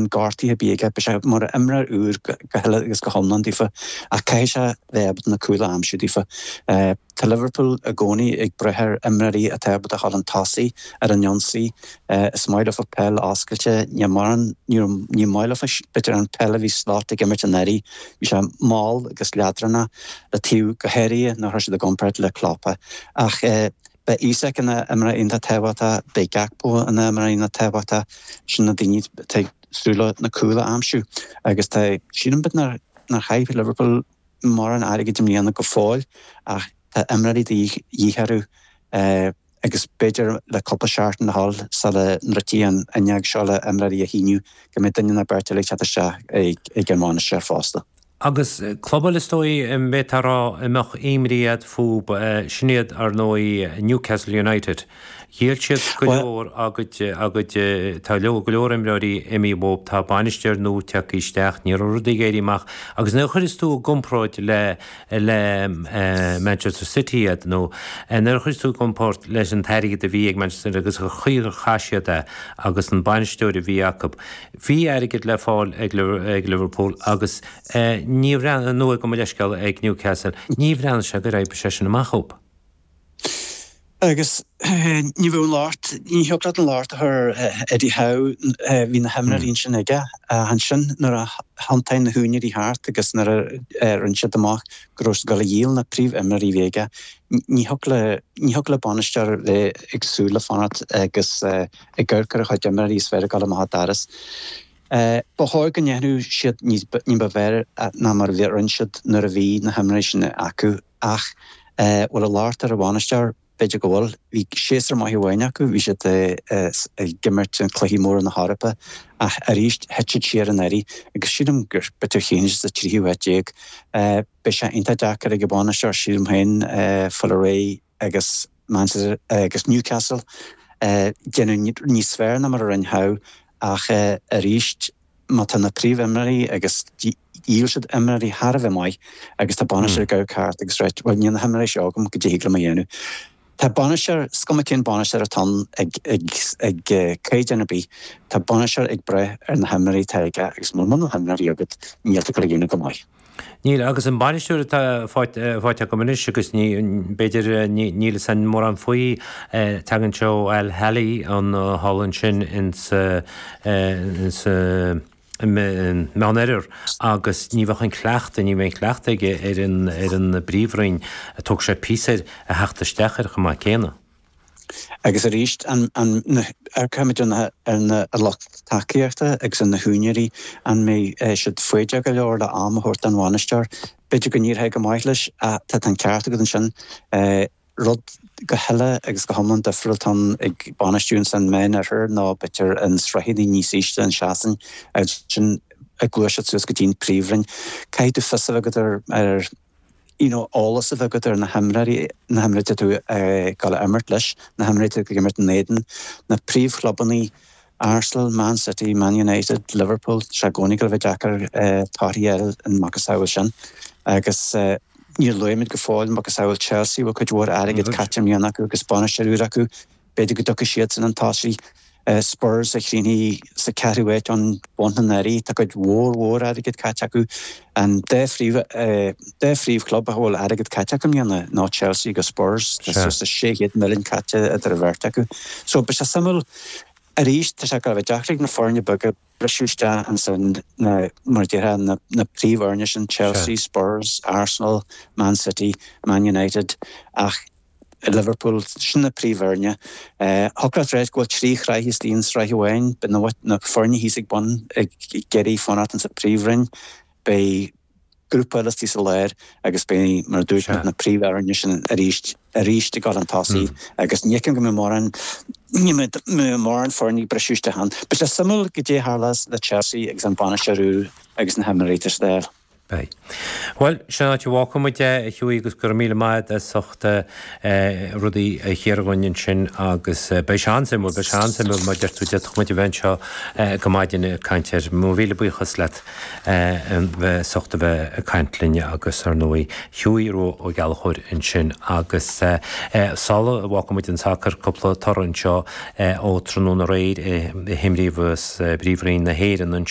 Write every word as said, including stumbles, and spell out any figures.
aon gortaithe ar bith aige, beidh sé mar imreoir úr go huile agus go hiomlán daofa ach caithfidh sé bheith ábalta na cúil a aimsiú daofa. Tá Liverpool i gcónaí ag brath ar imreoirí atá ábalta a dhul chun tosaigh ar an ionsaí. Is maith leofa peil oscailte, ní mórán, ní maith leofa b'fhéidir an peil a bhí Slot ag imirt anuraidh, bhí sé mall agus leadránach le taobh go háirithe nuair a chuir siad i gcomparáid le Klopp. Ach beidh Isak ina imreoir iontach tábhachtach, beidh Gakpo ina imreoir iontach tábhachtach, sin na daoine atá ag súil le na cúil a aimsiú agus tá, sílim b'fhéidir nár chaith Liverpool mórán airgid i mbliana go fóill ach tá imreoirí de dhíth orthu agus b'fhéidir le cúpla seachtain le dhul sula ndruidfidh an fhuinneog seo le imreoirí a shíniú go mbeidh duine nó beirt eile ag teacht isteach ag an mbainisteoir fosta. Agus club eile is dóigh a mbeifeá ag rá a mbeadh imní agat fúthu, sin iad ar ndóigh Newcastle United. Dhíol siad go leor a gcuid, a gcuid, tá go leor imreoirí imithe uathu, tá bainisteoir nua tagtha isteach, ní raibh rudaí ag éirí amach. Agus nuair a chuireas tú i gcomparáid le, le Manchester City iad nó nuair a chuireas tú i gcomparáid leis an t-airgead a bhí ag Manchester City agus an chaoi ar chaith siad é agus an bainisteoir a bhí acu, bhí airgead le fáil ag Liverpool agus ní bhreathnaigh, nó gabh mo leithscéal, ag Newcastle, ní bhreathnaigh sé gur oibrigh sé sin amach dhóibh. Agus ní bheadh an locht, ní thiocfadh leat an locht a chur ar Eddie Howe, bhí na himreoirí ansin aige. Ach ansin nuair a thiontaigh na húinéirí thart agus nuair a rinne siad amach go raibh siad ag dul a dhíol na príomhimreoirí a bhí aige, ní thiocfadh le, ní thiocfadh le bainisteoir bheith ag súil le fanacht agus ag amharc ar a chuid imreoirí is bheith ag dul amach an doras. Ba chóir go ndéanfadh siad ní ba bhfearr ná mar a rinne siad nuair a bhí na himreoirí sin acu ach bhfuil an locht ar an bhainisteoir? B'fhéidir go bhfuil. Bhí séasúr maith amháin acu, bhí siad ag imirt in cluichí móra na hEorpa ach arís thit siad siar anuraidh agus sílim gur b'fhéidir chríochnaigh siad sa tríú háit déag. Beidh sé iontach deacair ag an bhainisteoir sílim féin fáil réidh agus Manchester agus Newcastle déanamh níos fearr ná mar a rinne Howe ach arís má tá na príomhimreoirí agus dhíol siad imreoirí thar a bheith maith agus tá bainisteoir ag amharc thart agus ráit bhuel níl na himreoirí seo agam goidé thig liom a dhéanamh. Tá bainisteoir, is cuma cén bainisteoir atá ann ag ag ag caighdeán ar bith, tá bainisteoir ag brath ar na himreoirí atá aige agus muna bhfuil na himreoirí agat níl tú ag dul a dhéanamh go maith. Níl, agus an bainisteoir atá faighte acu anois, agus ní, b'fhéidir, níl fhios a'inn mórán faoi, tagann sé ó Al Ahly an thall ansin insa, insa Meánoirthear agus ní bheadh an cleachtadh, ní bheidh an cleachtadh aige ar an, ar an bPríomhroinn, tógfaidh sé píosa air a theacht isteach air chomh maith céanna. Agus arís, amharcaimid ar na lucht tacaíochta agus ar na húinéirí, an mbeidh siad foighdeach go leor le am a thabhairt don bhainisteoir? B'fhéidir go n-éireoidh go maith leis ach tá an ceart agat ansin. Rud go huile agus go hiomlán difriúil atá ann ag bainistiú ins an Meánoirthear ná b'fhéidir in sraitheanna níos ísle in Sasain agus ansin ag gluaiseacht suas go dtí an Príomhroinn. Caithfidh tú fios a bheith agat ar you know, eolas a bheith agat ar na himreoirí, na himreoirí atá tú ag dul a imirt leis, na himreoirí atá ag imirt in éadan, na príomhchlubanna, Arsenal, Man City, Man United, Liverpool, tá sé i gcónaí ag dul a bheith deacair torthaí a fháil in macasamhail sin. Agus níor luaigh muid go fóill macasamhail Chelsea, bhfuil cuid mhór airgid caite i mbliana acu agus bainisteoir úr acu, B'fhéidir go dtiocfaidh siadsan chun tosaigh. Spurs a chríochnaigh sa ceathrú háit ón bhun anuraidh. Tá cuid mhór mhór airgid caite acu. An dá phríomh dá phríomhchlub a bhfuil airgead caite acu i mbliana ná Chelsea agus Spurs. Tá suas le sé chéad milliún caite idir an bheirt acu. So beidh sé suimiúil arís, tá sé ag dul a bheith deacair ag na foirne beaga briseadh isteach ansin na, mar a déarfá, na na príomhfhoirne sin, Chelsea, Spurs, Arsenal, Man City, Man United ach Liverpool, sin na príomhfhoirne. Thiocfadh leat ráit go bhfuil trí shraith istigh i sraith amháin. Beidh na foirne thíos ag bun ag iarraidh fanacht insa Príomhroinn. Beidh grúpa eile istigh sa lár agus beidh, mar a dúirt mé, na príomhfhoirne sin arís arís ag dul chun tosaigh agus ní fheicim go mbeidh mórán ní mbeidh mórán foirne ag briseadh isteach ann. Beidh sé suimiúil goidé a tharlós le Chelsea agus an bainisteoir úr agus na himreoirí atá siad a fháil. Beidh. Bhuel, sin an áit a bhfágfaidh muid é, a Hughie, agus go raibh míle maith agat as ucht rudaí a chíoradh dhúinn ansin agus beidh sé an-suimiúil, beidh sé an-suimiúil mar a deir tú, d'fhéadfadh muid a bheith anseo go maidin ag caint air. Mo mhíle buíochas leat as ucht a bheith ag caint linn agus ar ndóigh Hughie Rua Ó Gallchóir ansin agus sula bhfágfaidh muid an sacar, cúpla toradh anseo ó tráthnóna aréir a himríodh i bPríomhroinn na hÉireann anseo.